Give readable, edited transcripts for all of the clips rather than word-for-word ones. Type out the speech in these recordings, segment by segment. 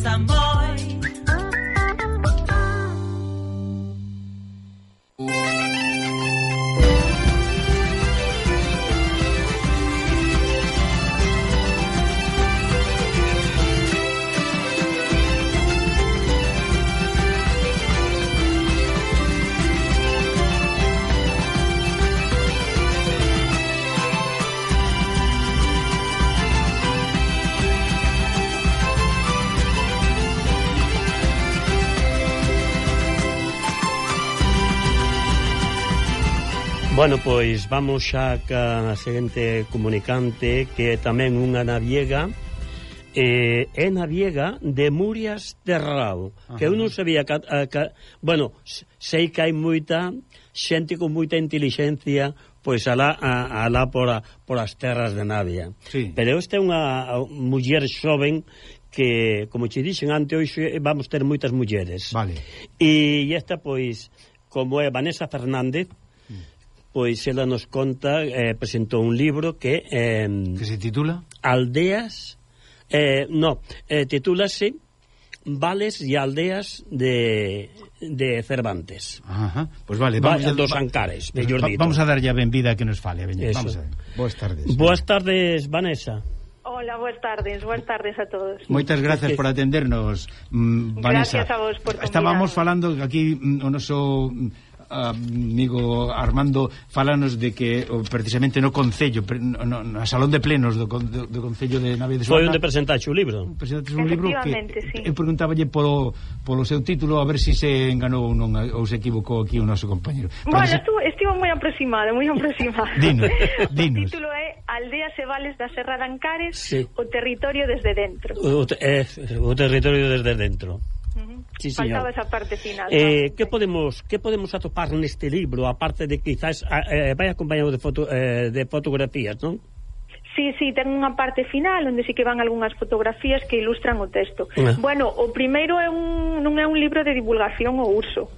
gusta moi. Bueno, pois vamos xa ca seguinte comunicante, que é tamén unha naviega, é naviega de Murias de Rao, que eu non sabía bueno, sei que hai moita xente con moita intelixencia pois alá por as terras de Navia, sí. Pero esta é unha muller xoven que, como che dixen antes, hoxe vamos ter moitas mulleres, vale. E esta, pois, como é Vanessa Fernández, pois ela nos conta, presentou un libro que se titula Aldeas, titúlase Vales e Aldeas de Cervantes. Ajá, pois vale, vamos dos Ancares, mellor dito. Vamos a darlle a benvida que nos fale, vamos a ver. Boas tardes. Boas tardes, Vanessa. Hola, boas tardes a todos. Moitas gracias por atendernos, Vanessa. Gracias a vos por convidarnos. Estábamos falando aquí o noso amigo Armando falanos de que precisamente no Concello, no Salón de Plenos do Concello de Navia de Suarna foi onde presentaxe o libro. Presentaxe un libro que sí. Eu preguntáballe polo seu título, a ver se enganou ou non, ou se equivocou aquí o noso compañero. Bueno, estivo moi aproximado. Dinos. O título é Aldeas e Vales da Serra de Ancares, sí. O territorio desde dentro. O territorio desde dentro. Sí, faltaba esa parte final. Que podemos atopar neste libro, aparte de quizás vai acompañado de fotografías, non? Sí, ten unha parte final onde sí que van algunhas fotografías que ilustran o texto. Bueno, o primeiro non é un libro de divulgación ou uso,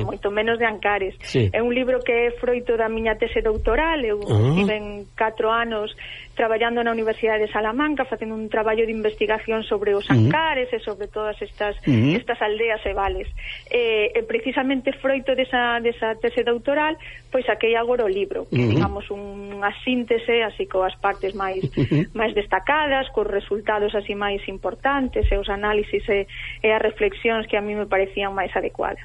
moito menos de Ancares. Sí. É un libro que é froito da miña tese doutoral. Eu tive 4 anos traballando na Universidade de Salamanca, facendo un traballo de investigación sobre os Ancares e sobre todas estas aldeas e vales. E precisamente froito desa tese doutoral, pois saquei agora o libro, que digamos unha síntese, así coas partes máis destacadas, cos resultados así máis importantes e os análisis e as reflexións que a mí me parecían máis adecuadas.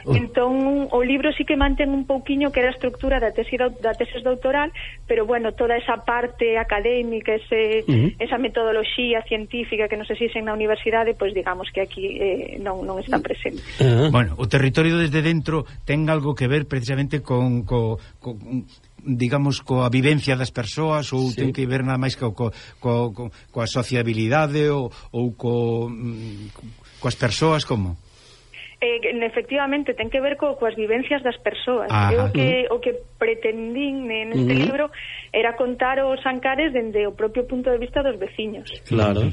Entón, o libro sí que mantén un pouquiño que era a estructura da tese doutoral, pero bueno, toda esa parte académica, esa metodoloxía científica que nos exixen na universidade, pois digamos que aquí non está presente. Bueno, o territorio desde dentro ten algo que ver precisamente con digamos, coa vivencia das persoas, ou ten que ver nada máis coa sociabilidade ou coas persoas, como? Efectivamente, ten que ver coas vivencias das persoas. O que pretendín neste libro era contar os Ancares dende o propio punto de vista dos veciños. Claro.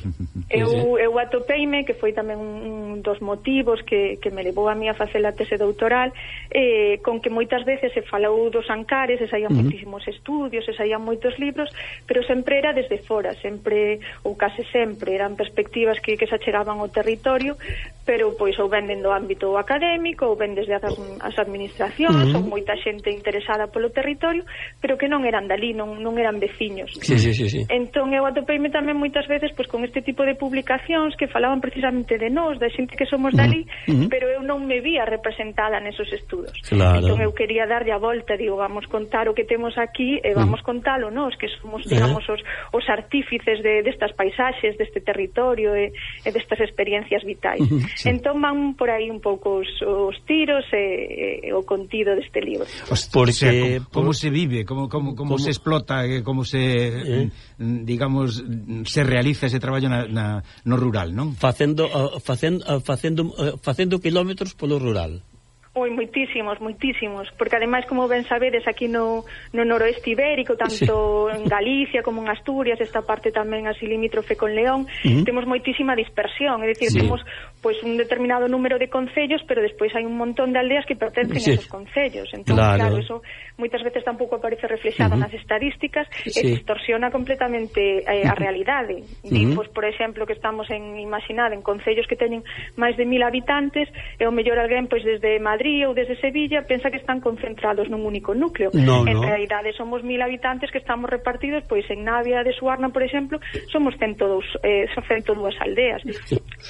Eu atopeime, que foi tamén un dos motivos que me levou a mí a facer a tese doutoral, con que moitas veces se falou dos Ancares, se saían moitísimos estudios, se saían moitos libros, pero sempre era desde fora, sempre, ou case sempre, eran perspectivas que se achegaban ao territorio, pero pois ou ven dentro do ámbito académico, ou ven desde as administracións, ou moita xente interesada polo territorio, pero que non eran dali, non eran veciños. Sí. Entón eu atopeime tamén moitas veces pois con este tipo de publicacións que falaban precisamente de nós, da xente que somos dali, pero eu non me vía representada nesos estudos. Claro. Entón eu quería darlle a volta, digo, vamos contar o que temos aquí e vamos contalo nós, que somos, digamos, os artífices destas paisaxes, deste territorio e destas experiencias vitais. Entón van por aí un pouco os tiros e o contido deste libro. Porque como se vive, como se explota, como se digamos se realiza ese traballo no rural, non? Facendo kilómetros polo rural. Moitísimos, porque ademais, como ben sabedes, aquí no noroeste ibérico, tanto en Galicia como en Asturias, esta parte tamén así limítrofe con León, temos moitísima dispersión, é dicir, temos pois un determinado número de concellos, pero despois hai un montón de aldeas que pertencen a esos concellos. Entón, claro, eso moitas veces tampouco aparece reflexado nas estadísticas e distorsiona completamente a realidade. Pois, por exemplo, que estamos imaginad, en concellos que teñen máis de 1000 habitantes, e o mellor alguén, pois, desde Madrid ou desde Sevilla, pensa que están concentrados nun único núcleo. En realidade, somos 1000 habitantes que estamos repartidos, pois, en Navia de Suarna, por exemplo, somos 102 aldeas.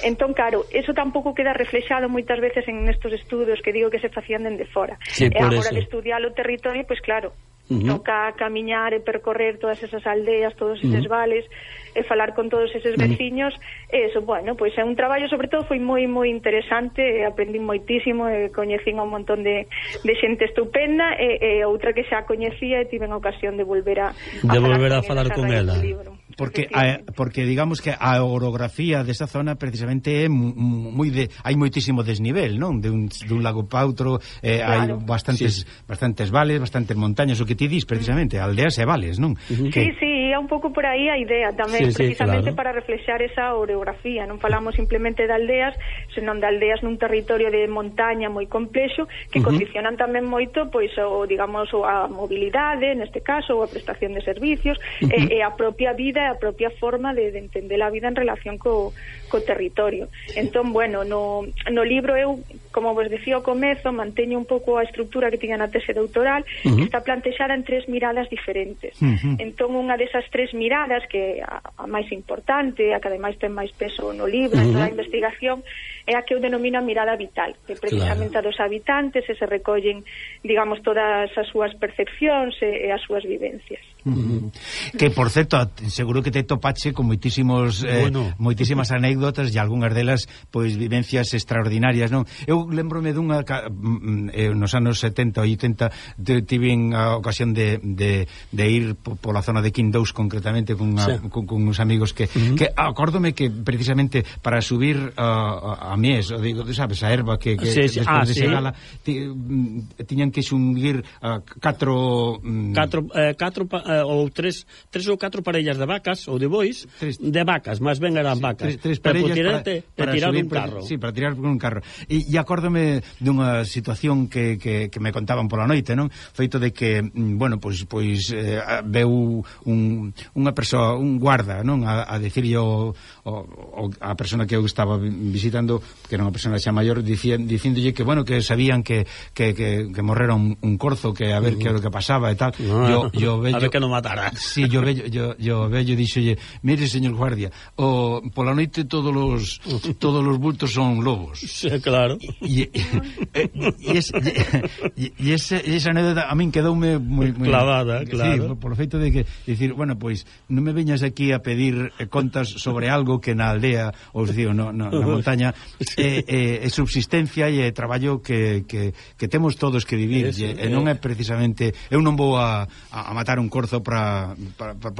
Entón, claro, eso tampouco queda reflexado moitas veces en estos estudos que digo que se facían dende fora. E agora de estudiar o territorio, pois claro, toca camiñar e percorrer todas esas aldeas, todos eses vales, e falar con todos eses veciños. Eso, bueno, pois é un traballo, sobre todo foi moi moi interesante, aprendí moitísimo, e coñecín a un montón de xente estupenda, e outra que xa coñecía e tiven a ocasión de volver a falar con ela. Porque digamos que a orografía desa zona precisamente é hai moitísimo desnivel, non? De un lago pa outro, hai bastantes vales, bastantes montañas, o que ti dis precisamente, aldeas e vales, non? Sí, é un pouco por aí a idea tamén, precisamente para reflexar esa orografía. Non falamos simplemente de aldeas, senón de aldeas nun territorio de montaña moi complexo que condicionan tamén moito, pois, digamos, a mobilidade, neste caso, ou a prestación de servicios, e a propia vida, a propia forma de entender a vida en relación co territorio. Entón, bueno, no libro eu, como vos decía ao comezo, manteño un pouco a estructura que tiña na tese doutoral, que está plantexada en 3 miradas diferentes. Entón, unha desas 3 miradas, que a máis importante, a que ademais ten máis peso no libro, en toda a investigación, é a que eu denomino a mirada vital, que precisamente a dos habitantes se recollen, digamos, todas as súas percepcións e as súas vivencias. Que, por certo, seguro que te topache con moitísimas anécdotas e algunhas delas, pois, vivencias extraordinarias, non? Eu lembrome dunha nos anos 70 ou 80 tive a ocasión de ir pola zona de Quindous, concretamente con uns amigos que acórdome que precisamente para subir a Mies, digo, sabes, a erva que despois de Segala tiñan que xunguir 4 ou 3 ou 4 parellas de vacas ou de bois, de vacas, máis ben eran vacas, tres parellas para tirar un carro. Sí, para tirar un carro. E acórdome dunha situación que me contaban pola noite, non? Feito de que, bueno, pois veu unha persoa, un guarda, non? A dicirlle a persona que eu estaba visitando, que era unha persona xa maior, dicíndolle que, bueno, que sabían que morrera un corzo, que a ver que era o que pasaba e tal. Yo vello, a ver que non matara. Sí, yo vello dixolle, mire, señor guardia, pola noite todos os bultos son lobos. Sí, claro. E esa anécdota a min quedoume moi clavada, claro. Sí, por o feito de que dicir, bueno, pois non me veñas aquí a pedir contas sobre algo que na aldea, ou digo, na montaña é subsistencia e é traballo que temos todos que vivir, e non é precisamente, eu non vou a matar un corzo para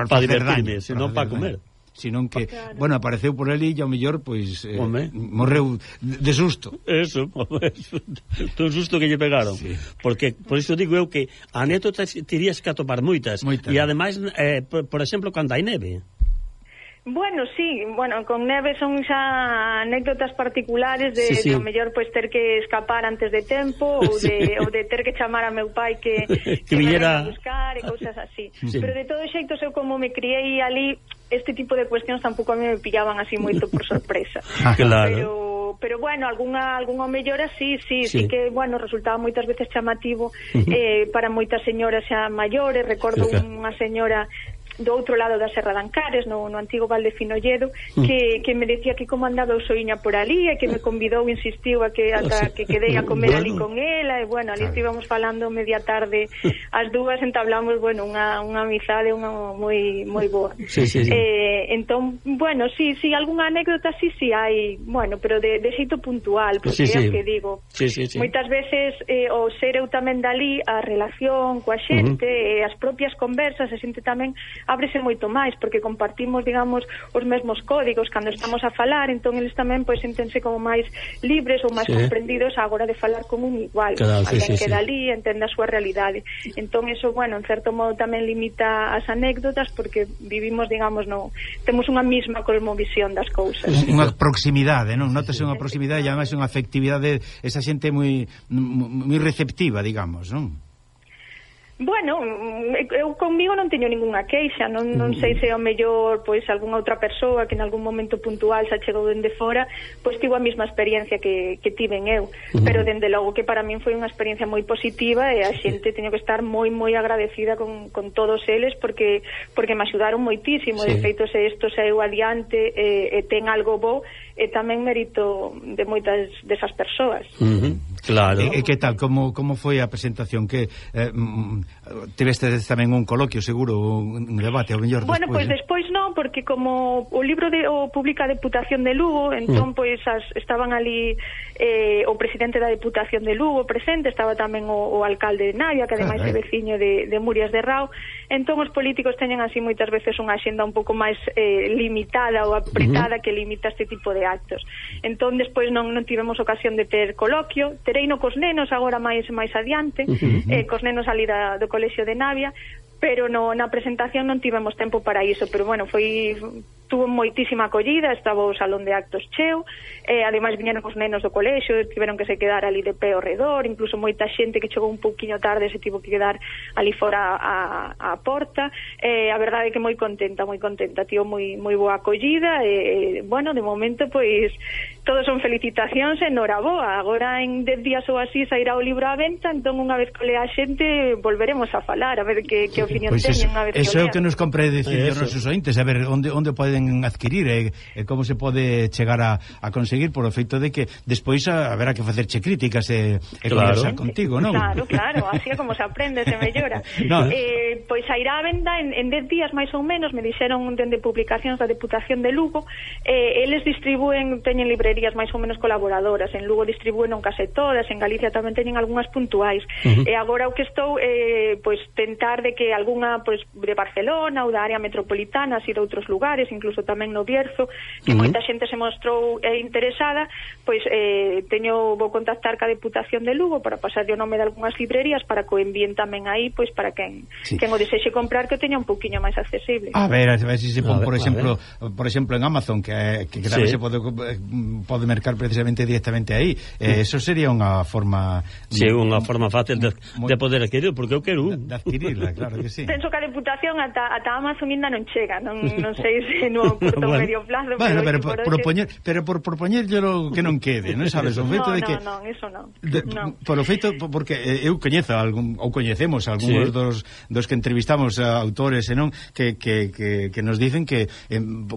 facer daño, senón para comer, sino que, bueno, apareceu por ali e ao mellor, pois, morreu de susto. Eso, todo susto que lle pegaron. Sí. Porque, por iso digo eu que anécdotas tirías que atopar moitas. E ademais, por exemplo, cando hai neve. Bueno, sí, con neve son xa anécdotas particulares de o mellor pois ter que escapar antes de tempo ou de ter que chamar a meu pai que me venga a buscar e cousas así. Pero de todo xeito, eu como me criei ali, este tipo de cuestións tampouco a mí me pillaban así moito por sorpresa. Claro. Pero bueno, algunha mellora sí que, bueno, resultaba moitas veces chamativo para moitas señoras xa maiores. Recordo unha señora do outro lado da Serra de Ancares, no antigo Val de Finolledo, que me decía que como andaba o soiña por ali, e que me convidou, insistiu a que quedei a comer ali con ela, e bueno, ali estivamos falando media tarde, as dúas entablamos, bueno, unha amizade moi boa. Entón, bueno, sí, algunha anécdota sí hai, bueno, pero de xeito puntual, porque é o que digo. Moitas veces o ser eu tamén dali, a relación coa xente, e as propias conversas, a xente tamén ábrese moito máis, porque compartimos, digamos, os mesmos códigos cando estamos a falar, entón eles tamén pois sentense como máis libres ou máis comprendidos á hora de falar con un igual, alguén que dali entende a súa realidade. Entón eso, bueno, en certo modo tamén limita as anécdotas, porque vivimos, digamos, temos unha mesma cosmovisión das cousas. Unha proximidade, non? Notase unha proximidade e ademais unha afectividade, esa xente moi receptiva, digamos, non? Bueno, eu conmigo non teño ningunha queixa, non sei se ao mellor pois algunha outra persoa que en algún momento puntual xa chegou dende fora, pois tivo a mesma experiencia que tiven eu, pero dende logo que para min foi unha experiencia moi positiva e a xente teño que estar moi agradecida con todos eles porque me axudaron moitísimo, de feito se isto saeu adiante e ten algo bo, e tamén mérito de moitas desas persoas. Claro. E que tal, como foi a presentación? Que tiveste tamén un coloquio, seguro, un debate, ao mellor despois? Bueno, pois despois non, porque como o libro o publica a Deputación de Lugo, entón pois estaban ali o presidente da Deputación de Lugo presente, estaba tamén o alcalde de Navia, que ademais é veciño de Murias de Rao. Entón os políticos teñen así moitas veces unha axenda un pouco máis limitada ou apretada que limita este tipo de actos. Entón despois non tivemos ocasión de ter coloquio, tereino cos nenos agora máis adiante, cos nenos ali do colexio de Navia, pero na presentación non tivemos tempo para iso, pero bueno, tuvo moitísima acollida, estaba o salón de actos cheo, ademais viñeron os nenos do colexio, tiveron que se quedar ali de pé ao redor, incluso moita xente que chegou un pouquiño tarde se tivo que quedar ali fora a porta. A verdade é que moi contenta, tío, moi boa acollida, bueno, de momento pois todos son felicitacións e noraboa. Agora en 10 días ou así sairá o libro á venta, entón unha vez que lea a xente volveremos a falar, a ver que opinión teñen unha vez que o lean. Eso é o que nos compre decir os nosos ointes, a ver onde poden adquirir e como se pode chegar a conseguir, por o feito de que despois haberá que facerche críticas e conversar contigo, non? Claro, así é como se aprende, se mellora. Pois sairá a venda en 10 días máis ou menos, me dixeron dende publicacións da Deputación de Lugo. Eles distribúen, teñen librerías máis ou menos colaboradoras, en Lugo distribúen non case todas, en Galicia tamén teñen algunhas puntuais, e agora o que estou pois tentar de que algunha pois de Barcelona ou da área metropolitana, así de outros lugares, incluso tamén no Bierzo, que moita xente se mostrou interesada, pois vou contactar ca Deputación de Lugo para pasar o nome de algunhas librerías para que o envíen tamén aí, pois para quen o desexe comprar, que o teña un poquinho máis accesible. A ver se se pon, por exemplo, en Amazon, que tamén se pode mercar precisamente directamente aí. Eso sería unha forma... Sí, unha forma fácil de poder adquirir, porque eu quero de adquirirla, claro que sí. Penso que a Deputación ata Amazon ainda non chega, non sei se no corto medio plazo, pero por propoñer que non quede, non sabes, o feito de que eso non. Por o feito, porque eu coñezo ou coñecemos algúns dos que entrevistamos a autores e non que nos dicen que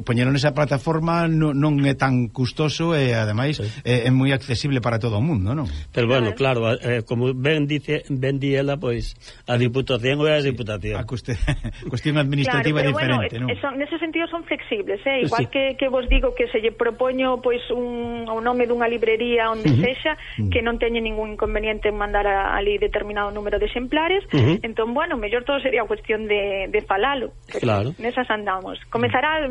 poñeron esa plataforma non é tan custoso e ademais é moi accesible para todo o mundo, non? Pero bueno, claro, como ben di ela, pois a Diputación ou a Diputación. A cuestión administrativa é diferente, non? Nese sentido son flexibles, igual que vos digo que se lle propoño pois un nome dunha librería onde sexa, que non teñe ningún inconveniente en mandar ali determinado número de exemplares, entón, bueno, mellor todo sería cuestión de falalo. Claro. Nesas andamos. Comezará,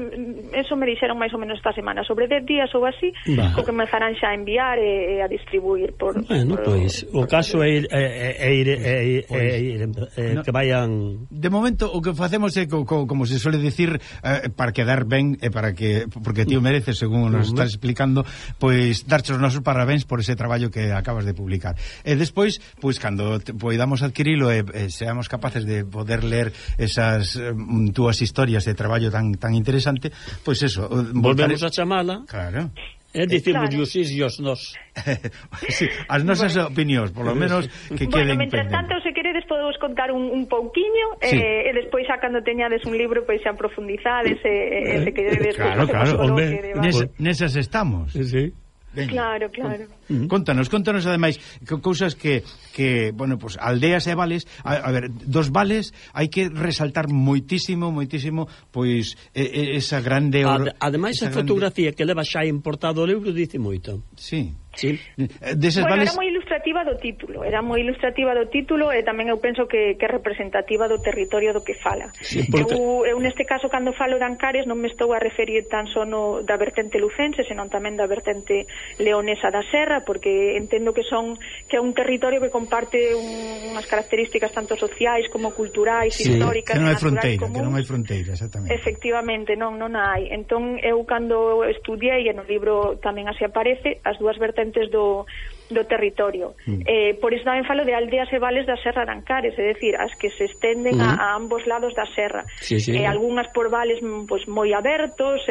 eso me dixeron máis ou menos esta semana, sobre 10 días ou así, que comezarán xa a enviar e a distribuir por... Bueno, pois, o caso é ir que vayan... De momento, o que facemos é, como se suele dicir, para quedar ben e para que, porque ti o mereces, según nos estás explicando, pois darche os nosos parabéns por ese traballo que acabas de publicar. E despois, pois cando poidamos adquirilo e seamos capaces de poder ler esas túas historias de traballo tan interesante, pois eso, volvemos a chamala. Claro. É dicirmos os nos. Sí, as nosas opinións, por lo menos que queden mentres tanto, se queredes podemos contar un pouquiño, e despois xa cando teñades un libro, pois xa profundizades se queredes. Claro, nesas estamos. Sí. Ben, claro. Contanos ademais cousas que bueno, pues aldeas e vales, a ver, dos vales hai que resaltar moitísimo, pois esa grande ademais a fotografía que leva xa importado o libro dice moito. Sí. Sí. Deses vales... era moi ilustrativo ilustrativa do título, e tamén eu penso que é representativa do territorio do que fala. Eu neste caso, cando falo de Ancares, non me estou a referir tan só da vertente lucense, senón tamén da vertente leonesa da serra, porque entendo que é un territorio que comparte unhas características tanto sociais como culturais, históricas, que non hai fronteira, exactamente. Efectivamente, non hai. Entón, eu cando estudiei, e no libro tamén así aparece, as dúas vertentes do territorio. Por iso tamén falo de aldeas e vales da Serra de Ancares, é dicir, as que se estenden a ambos lados da serra. Algunhas por vales pues, moi abertos,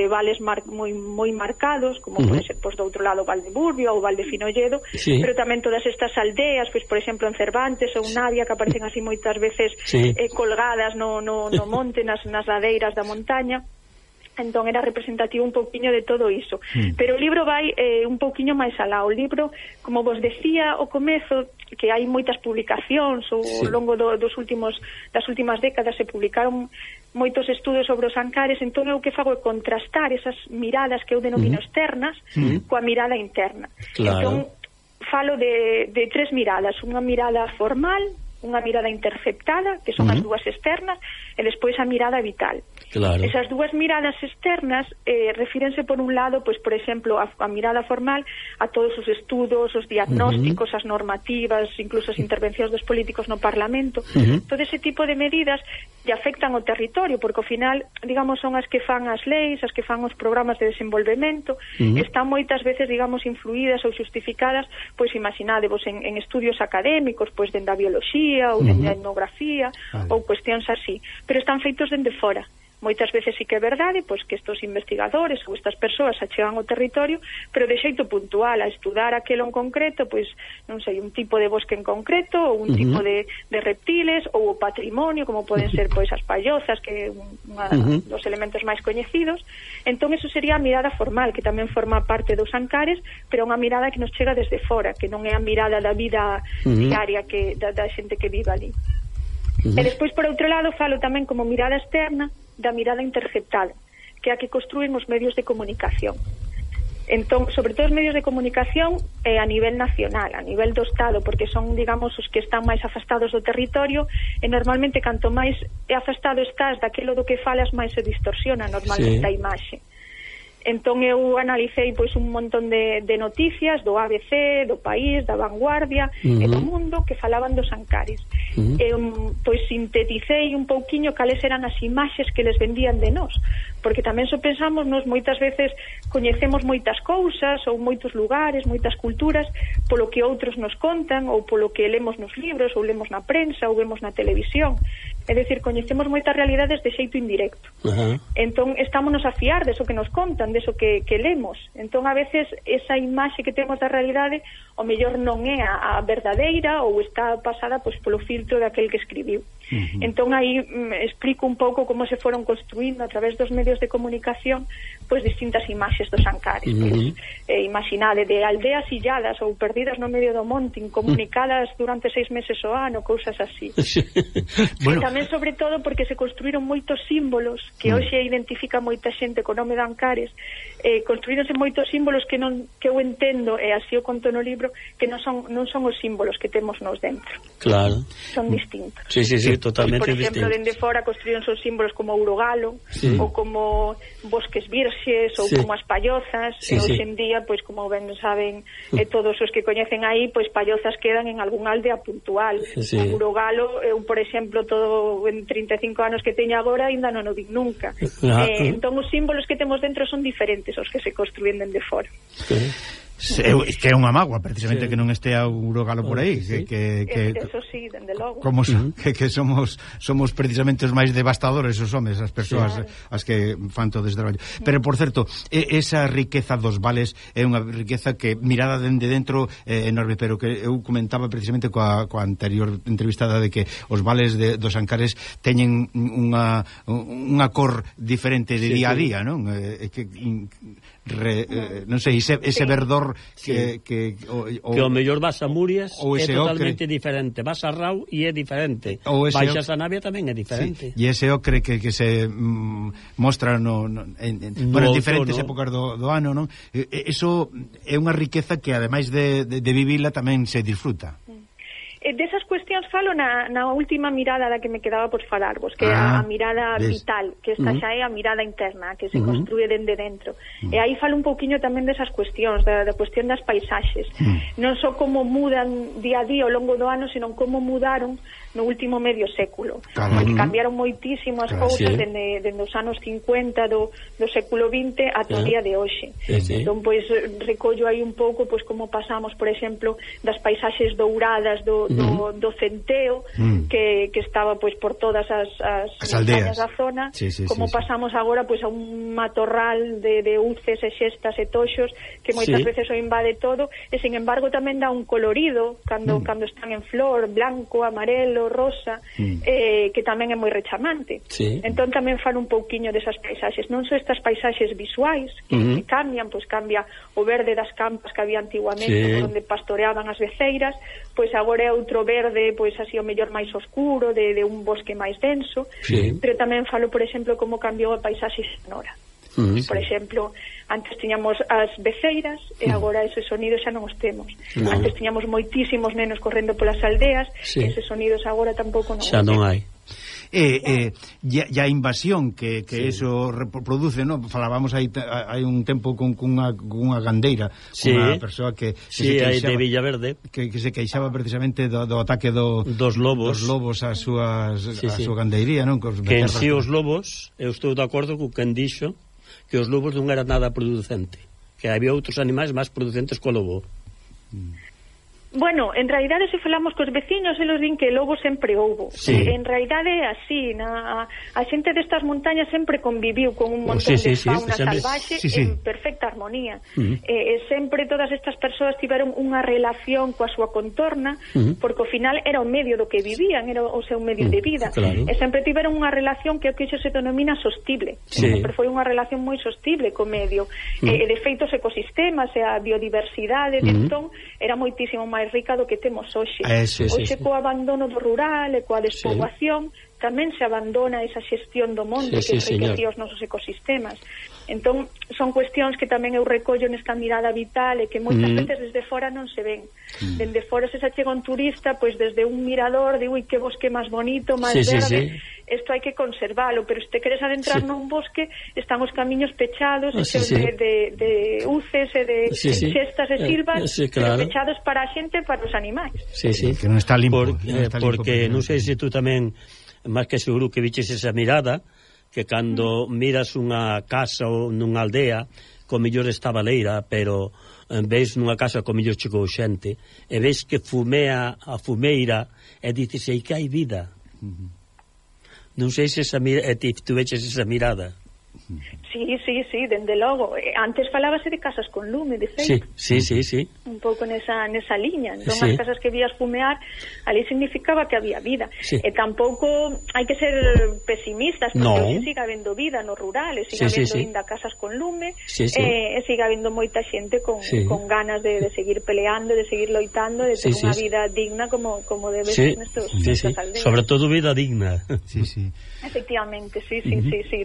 vales moi marcados, como pode ser pues, do outro lado Val de Burbio ou Val de Finolledo, pero tamén todas estas aldeas, pues, por exemplo, en Cervantes ou Navia, que aparecen así moitas veces colgadas no monte, nas ladeiras da montaña. Entón era representativo un pouquiño de todo iso. Pero o libro vai un pouquiño máis alá. O libro, como vos decía ao comezo, que hai moitas publicacións ao longo das últimas décadas se publicaron moitos estudos sobre os Ancares, entón eu que fago é contrastar esas miradas que eu denomino externas coa mirada interna. Entón falo de tres miradas, unha mirada formal, unha mirada interceptada, que son as dúas externas, e despois a mirada vital. Esas dúas miradas externas refírense por un lado, pues, por exemplo, a mirada formal a todos os estudos, os diagnósticos, as normativas, incluso as intervencións dos políticos no Parlamento. Todo ese tipo de medidas lle afectan ao territorio, porque ao final, digamos, son as que fan as leis, as que fan os programas de desenvolvemento, están moitas veces, digamos, influídas ou justificadas, pois imaginadevos en estudios académicos, pois dende a bioloxía ou dende a etnografía ou cuestións así, pero están feitos dende fora. Moitas veces sí que é verdade, pois que estos investigadores ou estas persoas achegan ao territorio, pero de xeito puntual, a estudar aquelo en concreto, pois, non sei, un tipo de bosque en concreto, ou un tipo de reptiles, ou o patrimonio, como poden ser, pois, as pallozas, que é un dos elementos máis coñecidos. Entón, eso sería a mirada formal, que tamén forma parte dos Ancares, pero unha mirada que nos chega desde fora, que non é a mirada da vida diaria da xente que vive ali. E despois, por outro lado, falo tamén como mirada externa da mirada interceptada, que é a que construen os medios de comunicación. Entón, sobre todo os medios de comunicación a nivel nacional, a nivel do Estado, porque son, digamos, os que están máis afastados do territorio, e normalmente canto máis afastado estás daquilo do que falas, máis se distorsiona normalmente a imaxe. Entón eu analicei pois un montón de noticias do ABC, do País, da Vanguardia e do Mundo que falaban dos Ancares. Pois sinteticei un pouquiño cales eran as imaxes que les vendían de nós, porque tamén só pensamos nos moitas veces coñecemos moitas cousas ou moitos lugares, moitas culturas polo que outros nos contan ou polo que lemos nos libros ou lemos na prensa ou vemos na televisión. É dicir, coñecemos moitas realidades de xeito indirecto. Entón, estámonos a fiar deso que nos contan, deso que lemos. Entón, a veces, esa imaxe que temos da realidade, o mellor non é a verdadeira ou está pasada pois, polo filtro daquel que escribiu. Entón, aí explico un pouco como se foron construindo a través dos medios de comunicación pois distintas imaxes dos Ancares. Pois, imaginade de aldeas illadas ou perdidas no medio do monte, incomunicadas durante 6 meses ao ano, cousas así. Bueno. Tamén, sobre todo, porque se construíron moitos símbolos que hoxe identifica moita xente co nome de Ancares. Construíronse moitos símbolos que eu entendo, e así o conto no libro, que non son os símbolos que temos nos dentro. Claro. Son distintos. Sí, totalmente distintos. Por exemplo, dende fora construíronse os símbolos como Urogalo, ou como bosques virxes, ou como as pallozas, e hoxe en día, pois como ben saben todos os que coñecen aí, pois pallozas quedan en algún aldea puntual. Urogalo, eu, por exemplo, todo en 35 anos que teño agora, ainda non o vi nunca. Entón, os símbolos que temos dentro son diferentes aos que se construen dende fora. Que é unha mágoa precisamente que non estea o Urogalo por aí, eso sí, dende logo. Como que somos precisamente os máis devastadores os homes, as persoas as que fan todo ese traballo. Pero por certo, esa riqueza dos vales é unha riqueza que mirada dende dentro é enorme, pero que eu comentaba precisamente coa anterior entrevistada de que os vales dos Ancares teñen unha cor diferente de día a día, non? Que non sei, ese verdor mellor que o mellor vas a Murias é totalmente diferente, vas a Rau e é diferente, baixas a Navia tamén é diferente. E ese ocre que se mostra en diferentes épocas do ano, non? Eso é unha riqueza que ademais de vivila tamén se disfruta. Desas cuestións falo na última mirada da que me quedaba por falarvos, que é a mirada vital, que esta xa é a mirada interna, que se construye dende dentro. E aí falo un pouquiño tamén desas cuestións, da cuestión das paisaxes. Non só como mudan día a día ao longo do ano, senón como mudaron no último medio século. Porque cambiaron moitísimo as cousas dende os anos 50 do século XX ata o día de hoxe. Entón, pois, recollo aí un pouco pois como pasamos, por exemplo, das paisaxes douradas do centeo, que estaba pois por todas as montañas da zona, como pasamos agora pois a un matorral de uces e xestas e toxos que moitas veces o invade todo, e sin embargo tamén dá un colorido cando están en flor, blanco, amarelo, rosa, que tamén é moi rechamante. Entón tamén falo un pouquiño desas paisaxes, non só estas paisaxes visuais que cambian, pois cambia o verde das campas que había antiguamente onde pastoreaban as beceiras, pois agora é outro verde, pois así o mellor máis oscuro, de un bosque máis denso, pero tamén falo, por exemplo, como cambiou a paisaxe sonora. Por exemplo, antes tiñamos as beceiras e agora esos sonidos xa non os temos. Antes tiñamos moitísimos nenos correndo polas aldeas e esos sonidos agora tampouco non xa non hai. E a invasión que eso produce, ¿no? Falábamos hai un tempo con unha gandeira, unha persoa que se queixaba de Villaverde, que se queixaba precisamente do ataque dos lobos a súa gandeiría, non? Que en si os lobos, eu estou de acordo co que dixo que os lobos non eran nada producente, que había outros animais máis producentes co lobo. Bueno, en realidade se falamos cos veciños eles din que lobo sempre houbo. En realidade é así, a xente destas montañas sempre conviviu con un montón de fauna salvaxe en perfecta armonía. Sempre todas estas persoas tiveron unha relación coa súa contorna, porque ao final era o medio do que vivían, era o seu medio de vida. E sempre tiveron unha relación que iso se denomina sostible. Sempre foi unha relación moi sostible co medio. E de feito os ecosistemas e a biodiversidade de entón era moitísimo máis rica do que temos hoxe. Hoxe co abandono do rural e coa despoboación tamén se abandona esa xestión do monte que enriquecía os nosos ecosistemas. Entón, son cuestións que tamén eu recollo nesta mirada vital e que moitas veces desde fora non se ven. Dende fora se chega un turista, pois desde un mirador, digo, que bosque máis bonito, máis verde, isto hai que conservalo, pero se te queres adentrar nun bosque, están os camiños pechados, de uces e de xestas e silvas, pero pechados para a xente e para os animais. Que non está limpo. Porque non sei se tú tamén, máis que seguro que viches esa mirada, que cando miras unha casa ou nunha aldea, co mellor está baleira, pero veis nunha casa co mellor chegou xente, e veis que fumea a fumeira, e dices, ei, que hai vida. Non sei se tú veches esa mirada. Sí, dende logo. Antes falábase de casas con lume, de feito. Sí. Un pouco nesa liña. Entón, as casas que vías fumear, ali significaba que había vida. E tampouco hai que ser pesimistas, porque siga habendo vida no rural, e siga habendo ainda casas con lume, e siga habendo moita xente con ganas de seguir peleando, de seguir loitando, de ter unha vida digna como debe ser nestas aldeas. Sobre todo vida digna. Efectivamente, sí,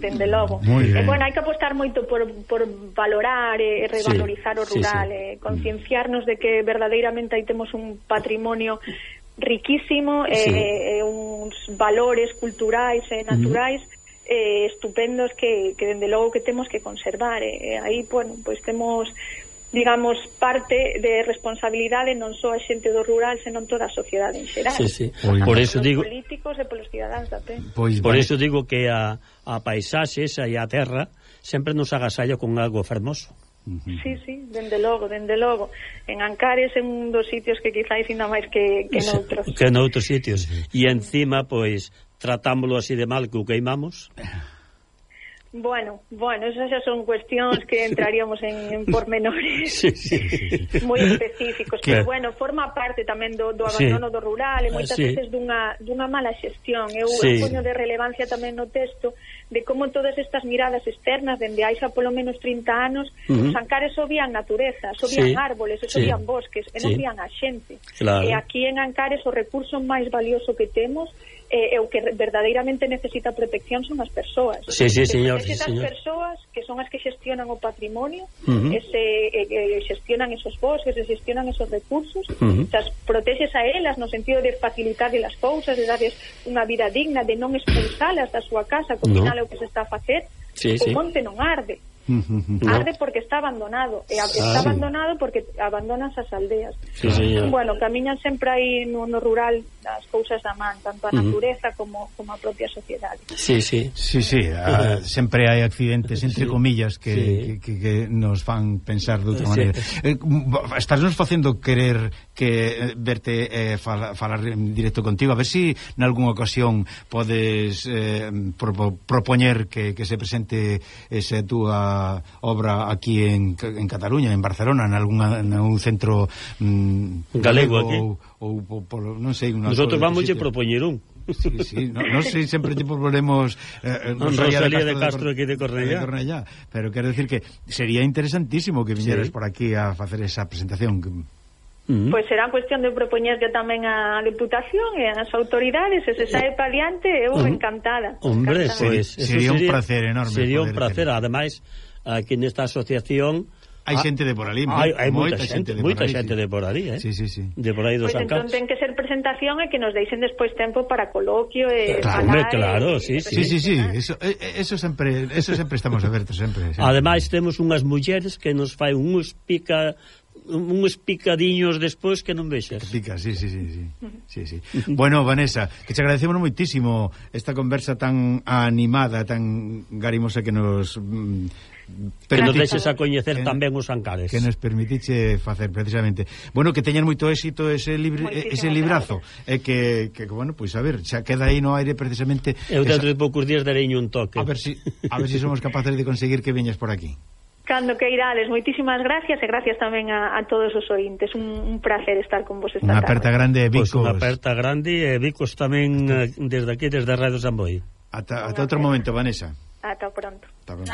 dende logo. E, bueno, hai que apostar moito por valorar e revalorizar o rural, concienciarnos de que verdadeiramente aí temos un patrimonio riquísimo, uns valores culturais e naturais estupendos que dende logo que temos que conservar. Aí, bueno, pois temos, digamos, parte de responsabilidade non só a xente do rural, senón toda a sociedade en xeral. Por eso digo, políticos e polos cidadáns da pé. Por eso digo que a paisaxe esa e a terra sempre nos agasalla con algo fermoso. Sí, dende logo. En Ancares é un dos sitios que quizáis ainda máis que noutros. Que noutros sitios. E encima, pois, tratámoslo así de mal que o queimamos. Bueno, esas xa son cuestións que entraríamos en pormenores moi específicos, pero bueno, forma parte tamén do abandono do rural e moitas veces dunha mala xestión. Eu poño de relevancia tamén no texto de como todas estas miradas externas dende hai xa polo menos 30 anos os Ancares só vían natureza, só vían árboles, só vían bosques e non vían a xente. E aquí en Ancares o recurso máis valioso que temos e o que verdadeiramente necesita protección son as persoas. Señor. Esas persoas que son as que xestionan o patrimonio, xestionan esos bosques, xestionan esos recursos, protexes a elas no sentido de facilitar as cousas, de darles unha vida digna, de non expulsalas da súa casa, como final o que se está a facer. O monte non arde. Arde porque está abandonado está abandonado porque abandonan as aldeas. Bueno, camiñan sempre aí no rural as cousas da man, tanto a natureza como a propia sociedade. Sempre hai accidentes entre comillas que nos fan pensar de outra maneira. Estás nos facendo querer que verte falar en directo contigo, a ver si nalgúna ocasión podes propoñer que se presente esa túa obra aquí en Cataluña, en Barcelona, en algún centro galego aquí ou non sei, nosotros vamos a propoñer un. Non sei, sempre te proponemos Rosalía de Castro aquí de Cornellá, pero quero decir que sería interesantísimo que viñeras por aquí a facer esa presentación. Pois será cuestión de propoñerlle tamén a Deputación e as autoridades, e se sae pa diante, eu encantada. Hombre, pois sería un placer enorme. Sería un placer, ademais, aquí nesta asociación hai xente de por ali, hai moita xente de por ali, de por aí dos Ancares. Entón ten que ser presentación e que nos deixen despois tempo para coloquio e claro, sí. Eso sempre estamos abertos sempre. Ademais temos unhas mulleres que nos fai uns picadiños despois que non vexas. Pica, sí. Bueno, Vanessa, que te agradecemos moitísimo esta conversa tan animada, tan garimosa que nos que nos deixes a coñecer tamén os Ancares, que nos permitiche facer precisamente. Bueno, que teñan moito éxito ese librazo e que bueno, pois a ver, xa queda aí no aire precisamente. Eu dentro de poucos días darei un toque. A ver si somos capaces de conseguir que veñas por aquí. Cando que irades, moitísimas gracias e gracias tamén a todos os ointes. Un placer estar con vos esta tarde. Unha aperta grande e Vicos. Unha aperta grande e Vicos tamén desde aquí, desde Radio Samboy. Ata outro momento, Vanessa. Ata pronto. Ata pronto.